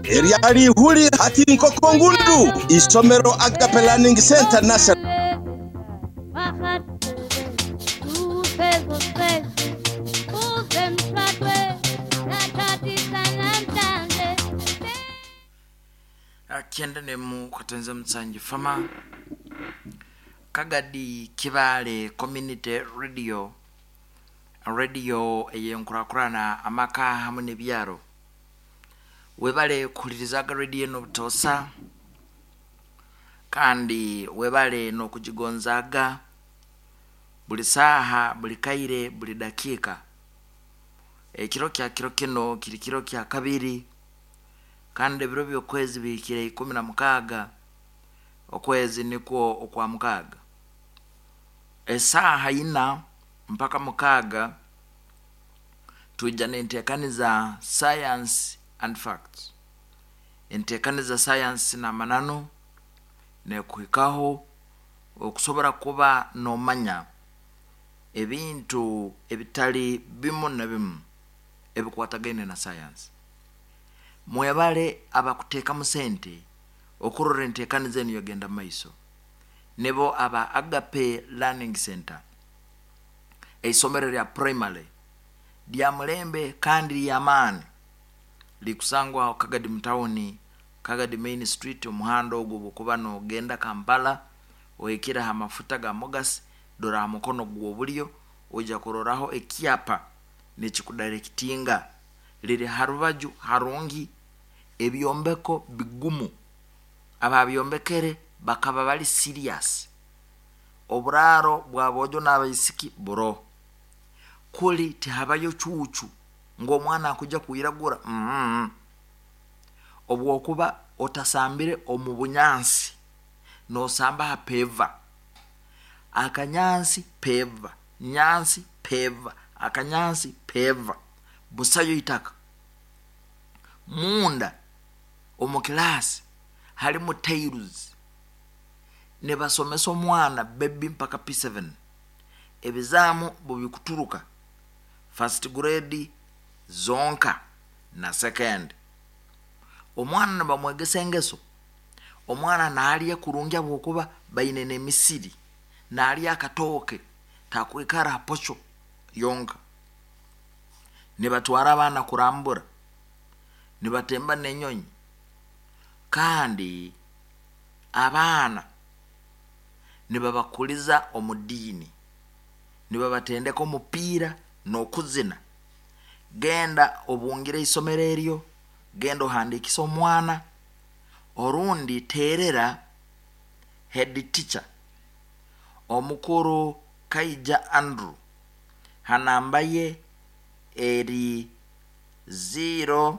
Eryali ihuli hati nkoko ngundu. Isomero Agape Learning Center Nursery. Kyenda nemu katenze mutsanji fama Kagadi Kibale Community Radio, radio eyenkurakurana amaka hamwe n'ebyaro. Webale kuhulirizaga radio eno butoosa, kandi webale n'okugigonzaaga buli saaha, buli kaire, buli dakiika. Ekiro kya kiro kino kiri kiro kya kabiri, kandi ebiro by'okwezi bihikire 16, okwezi nikwo okwa mukaaga, esaaha 4 mpaka 6 twija n'enteekaniza Science and Facts. Enteekaniza Science n'amananu nekuhikaho okusobora kuba n'omanya ebintu ebitali bimu na bimu ebikwatagaine na science. Mwebale abakuteekamu sente okurora enteekaniza enu yagenda maiso, nibo aba Agape Learning Center, eisomero lya primary lya mulembe kandi ly'amaani, likusangwa Kagadi mutawuni, Kagadi Main Street. Omuhanda ogwo bwokuba nogenda Kampala ohikire ha mafuta ga Mogas, dora ha mukono gw'obulyo oija kuroraho ekyapa nikikudirectinga. Liri ha rubaju harungi, ebyombeko bigumu, ababyombekere bakaba bali serious. Oburaaro bwa boojo n'abaisiki buroho, kuli tihabayo cuucu ngu omwana akujya kwiragura, obwokuba otasambire omu bunyansi, nosamba ha peva, akanyansi peva, nyansi peva, akanyansi peva, busayo itaka. Munda omu kilaasi halimu tiles, nibasomesa omwana baby mpaka P7. Ebizaamu bubikuturuka first grade zonka na second. Omwana nibamwegesa engeso, omwana naalya kurungi habwokuba baine n'emisiri, naalya akatooke, takwikara ha posho yonka. Nibatwara abaana kurambura, nibatemba n'enyonyi, kandi abaana nibabakuliza omu diini, nibabatendeka omupiira n'okuzina. Genda obungire isomero eryo, genda ohandiikise omwana, orundi terera head teacher omukuru Kaija Andrew ha namba ye eri 0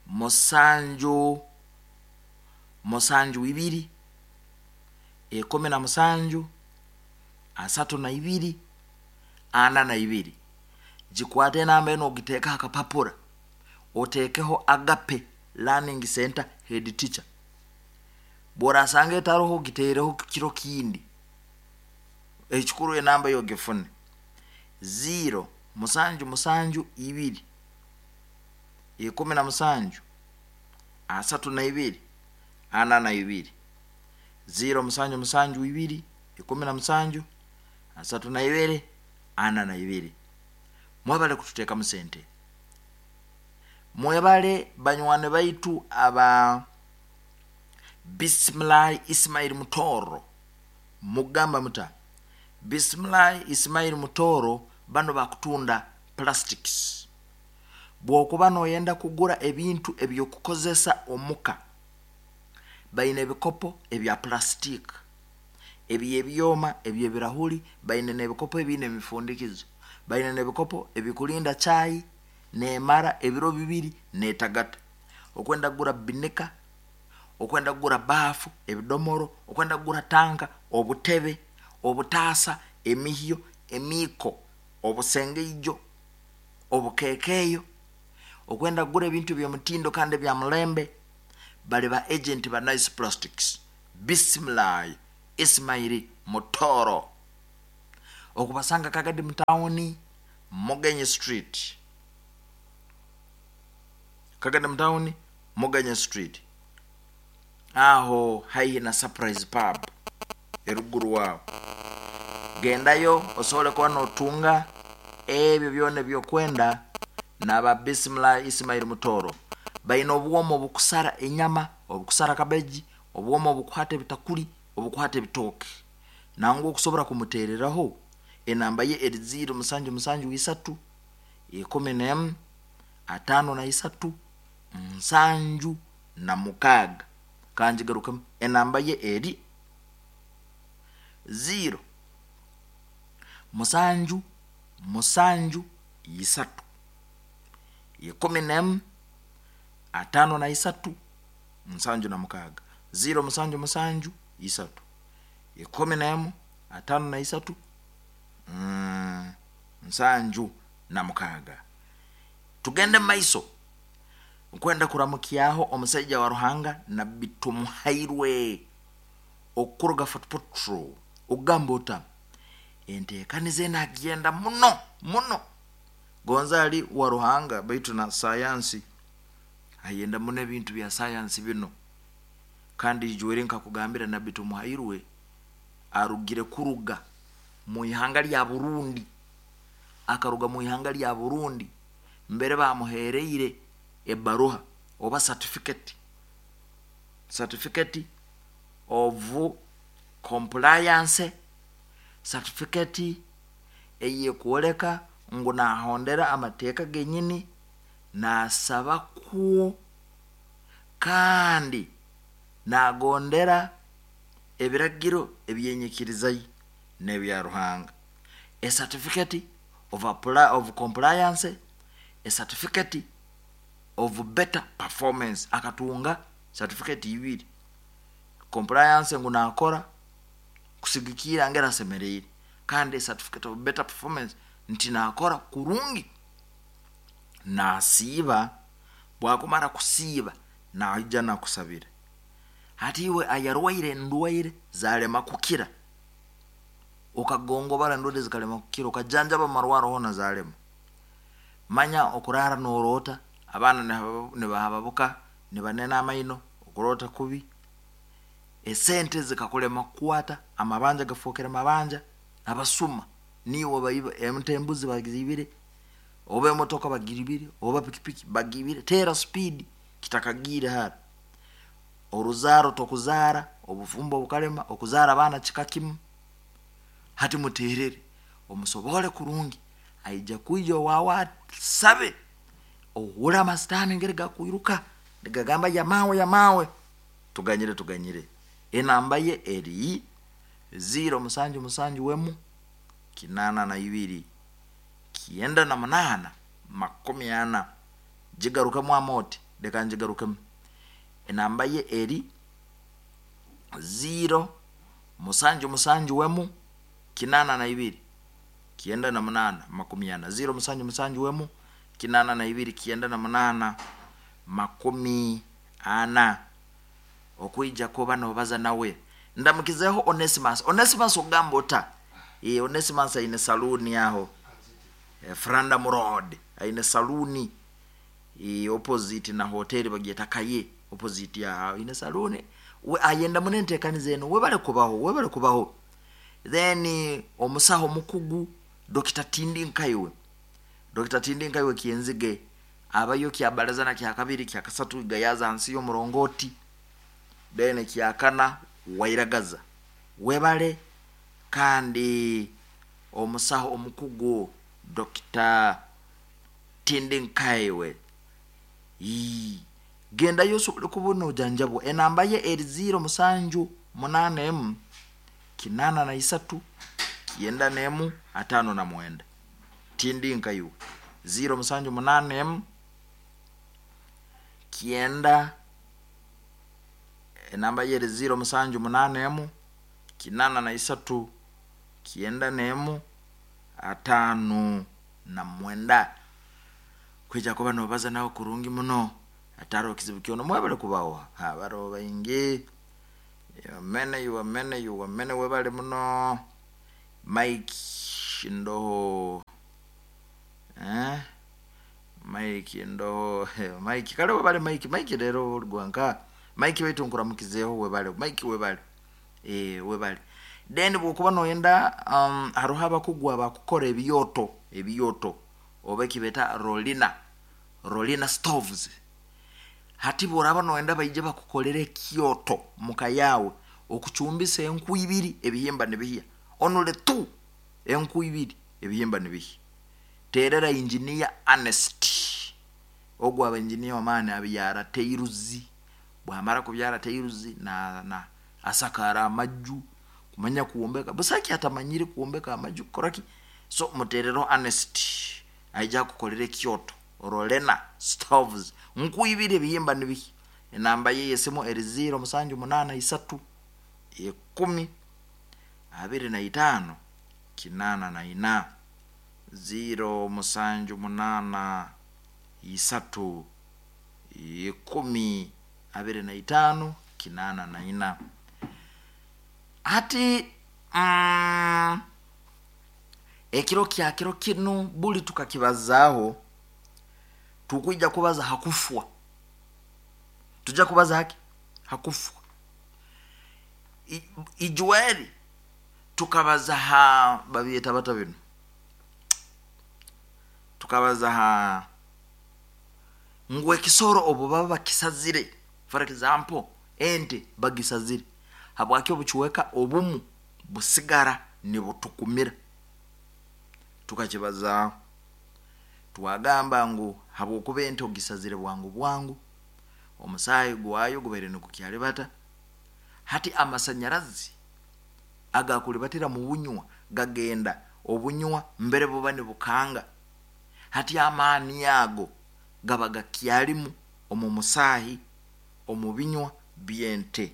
7 7 2 17 32 42. Gikwate enamba enu, ogiteeke akapapura, oteekeho Agape Learning Center head teacher. Bworasanga etaroho, giteereho kiro kindi. Ekikuru enamba yo ogifune, 0 7 7 2 17 32 42, 0 7 7 2 17 32 42. Mwebale kututeekamu sente, mwebale banywani baitu aba Bisimilahi Ismail Mutoro. Mugamba muta Bisimilahi Ismail Mutoro? Bano bakutunda plastics. Bwokuba noyenda kugura ebintu ebyokukozesa omuka, baine ebikopo ebya plastic, ebyebyoma, ebyebirahuri, baine n'ebikopo ebiine emifundikizo, baine n'ebikopo ebikulinda chai nemara ebiro 2 netagata. Okwenda kugura binika, okwenda kugura baafu, ebidomoro, okwenda kugura tanka, obutebe, obutaasa, emihyo, emiiko, obusengeijo, obukekeeyo, okwenda kugura ebintu eby'omutindo kandi ebya mulembe, bali ba agent ba Nice Plastics. Bisimilahi Ismaili Mutoro, okubasanga Kagadi mutawuni, Mugenyi Street. Kaganda mutawuni, Muganya Street, aho haihi na Surprise Pub eruguru wawe. Gendayo osobole kuba notunga ebyo byona ebyokwenda. Naba Bismillah Ismail Mutoro baina obwomo obukusara enyama, obukusara kabeji, obwomo obukuhata ebitakuli, obukuhata ebitooke. Nangwa okusobora kumutereraho, enamba ye eri 0 musanju musanju isatu 11 53 76. Kanjigarukemu, enamba ye eri 0 musanju musanju isatu 11 53 76. 0 musanju musanju isatu 11 53 76. Tugende maiso. Nkwenda kuramukyaho omusaija wa Ruhanga Nabbi Tumuhairwe okuruga Fort Potro. Ogamba ota enteekaniza enagenda muno muno, gonza ali wa Ruhanga baitu na sayansi ayenda muno ebintu bya sayansi bino. Kandi ijwere nkakugambira, Nabbi Tumuhairwe arugire kuruga mu ihanga lya Burundi, akaruga mu ihanga lya Burundi mbere bamuhereire ebaruha oba certificate, certificate of compliance, certificate eyekwoleka ngu nahondera amateeka genyini, nasaba kwo kandi nagondera ebiragiro ebyenyikiriza n'ebya Ruhanga. A certificate of, apply, of compliance, a certificate of better performance. Akatunga certificate ibiri, compliance ngu nakora kusigikira ngera asemereire, kandi a certificate of better performance nti nakora kurungi. Nasiiba, bwakumara kusiiba naija nakusabira. Hati iwe ayarwaire endwaire zalema kukira, okagongobara endwaire zikalema kukira, okajanjaba amarwaro hona zalema, manya okurara norota abaana nibahababuka nibanena amaino, okurota kubi, esente zikakulema kukwata, amabanja gafokere mabanja, abasuma niwe baiba ente, embuzi bagibire, oba emotoka bagibire, oba pikipiki bagibire, tera speed kitakagire hara. Oruzaro tokuzara, obufumbo bukalema, okuzara abaana kika kimu. Hati muterere omusobole kurungi, aija kwija owawe asabe, ohure amasitaani ngeri gakwiruka nigagamba yamawe yamawe. Tuganyire tuganyire. Enamba ye eri 0 musanju musanju wemu 82 98 40. Jigarukemu amoti, leka njigarukemu. Enamba ye eri 0 musanju musanju wemu 82 98 40. 0 musanju musanju wemu 82 98 40. Okwija kuba nobaza nawe. Ndamukizeho Onesimus. Onesimus ogamba ota? Onesimus aine saluni aho Frandam Road, aine saluni opposite na hoteli bagyeta Kaye, opposite ya aine saluni. We ayenda muno enteekaniza eno. Webale kubaho, webale kubaho. Then omusaho mukugu Dr. Tindi Nkaiwe, Dr. Tindi Nkaiwe Kyenzige abayo kyabalaza na kyakabiri kyakasatu gayaza hansi y'omurongoti, then kyakana wairagaza. Webale. Kandi omusaho omukugu Dr. Tindi Nkaiwe, gendayo osobole kubona ojanjabwa. Enamba ye eri 0 musanju munana emu 83 91 59. Tindi Nkaiwe 0 musanju munana emu kyenda, enamba ye eri 0 musanju munana emu 83 91 59. Kwija kuba nobaza nawe kurungi muno, ataro kizibu kyono. Mwebale kubaho abaro baingi, yamene yuwamene yuwamene, webale muno. Mike Ndoho, Mike ndo Mike kale webale Mike. Mike rero oligwanka Mike waitu nkuramukizeho, webale Mike, webale, webale. Then bwokuba noyenda, haroho abakugu abakukora ebyoto, ebyoto oba ekibeta rolina, rolina stoves. Hati bworaba noyenda baije bakukolera ekyoto muka yawe okucumbisa enku ibiri ebihimba nibihya, onule tu enku ibiri ebihimba nibihya, terera Engineer Ernest. Ogwo aba engineer wamaani, abyara tairuzi, bwamara kubyara tairuzi na asakara amaju, kumanya kuwombeka busaki atamanyire kuwombeka amaju kukoraki. So muterero Ernest aija kukolera ekyoto rolena stoves, nku ibiri ebihimba nibihya. Enamba ye yesimu eri 0783 10 25 84, 0783 10 25 84. Hati ekiro kya kiro kinu buli tukakibazaaho, tukwija kubaza hakufwa, tujja kubaza haki hakufwa. Ijweri tukabaza ha babyeta bata bino, tukabaza ha ngu ekisoro obu baba bakisazire, for example ente bagisazire, habwaki obucweka obumu busigara nibutukumira? Tukakibazaaho, twagamba ngu habwokuba ente ogisazire bwangu bwangu, omusaayi gwayo gubaire nigukyalibata, hati amasanyarazi agakulibatira mu bunywa gagenda obunywa mbere buba nibukanga, hati amaani ago gaba gakyalimu omu musaahi omu binywa by'ente.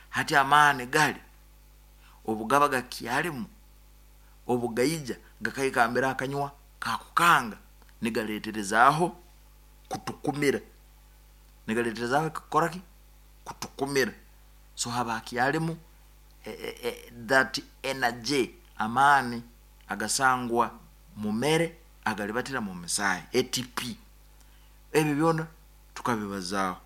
Hati amaani gali obu gaba gakyalimu, obugaija gakaikambira akanywa kakukanga, nigaleterezaaho kutukumira, nigaleterezaaho kukoraki kutukumira. So haba hakyalimu that energy, amaani agasangwa mu mere agalibatira mu misaahi, ATP. Ebyo byona tukabibazaaho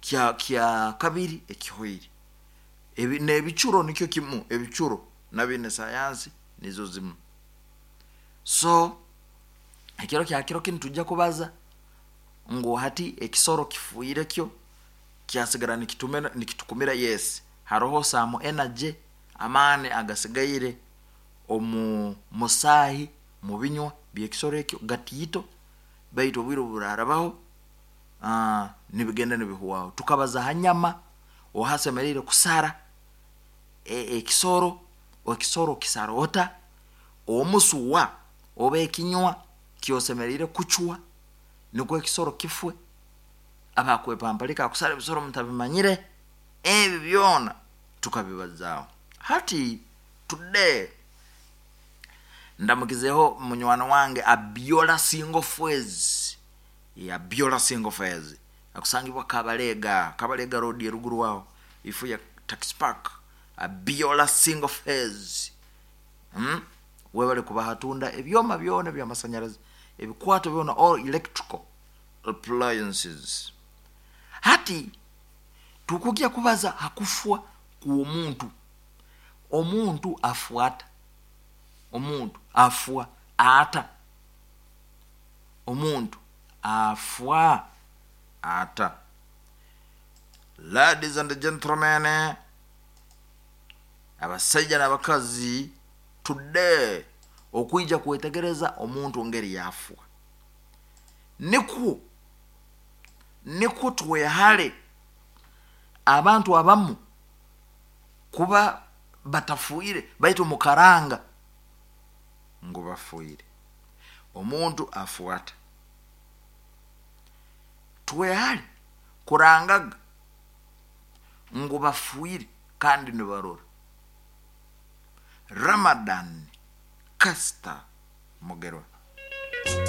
kya kabiri ekihoire. N'ebicuro nikyo kimu, ebicuro nabyo ne sayansi nizo zimu. So ekiro kya kiro kinu tujja kubaza ngu hati ekisoro kifuire kyo kyasigara nikitukumira, yes, haroho some energy, amaani agasigaire omu musaahi mu binywa by'ekisoro ekyo gatiito, baitu obwire obu burarabaho nibigenda nibihwaho. Tukabaza ha nyama ohasemeriire kusara ekisoro, ekisoro kisara ota, omusuwa oba ekinywa kyosemeriire kucwa nikwo ekisoro kifwe. Abakwepamparika akusara ebisoro mutabimanyire, ebi byona tukabibazaaho. Hati today ndamukizeho munywani wange Abiola Single Phase, Abiola Single Phase akusangibwa Kabalega, Kabalega Road eruguru aho ifu ya taxi park. Abiola Single Phase, Webale kuba hatunda ebyoma byona byamasanyarazi, ebikwato byona, all electrical appliances. Hati tukujya kubaza hakufwa kw'omuntu. Omuntu afwa ata? Omuntu afwa ata? Omuntu afwa ata? Ladies and gentlemen, abasajja n'abakazi, today okwija kwetegereza omuntu ngeri yafwa, nikwo twehale abantu abamu kuba batafuire baitu mukaranga ngu bafuire. Omuntu afuata, twehale kurangaga ngu bafuire kandi nibarora. Ramadan Kasta Mugerwa.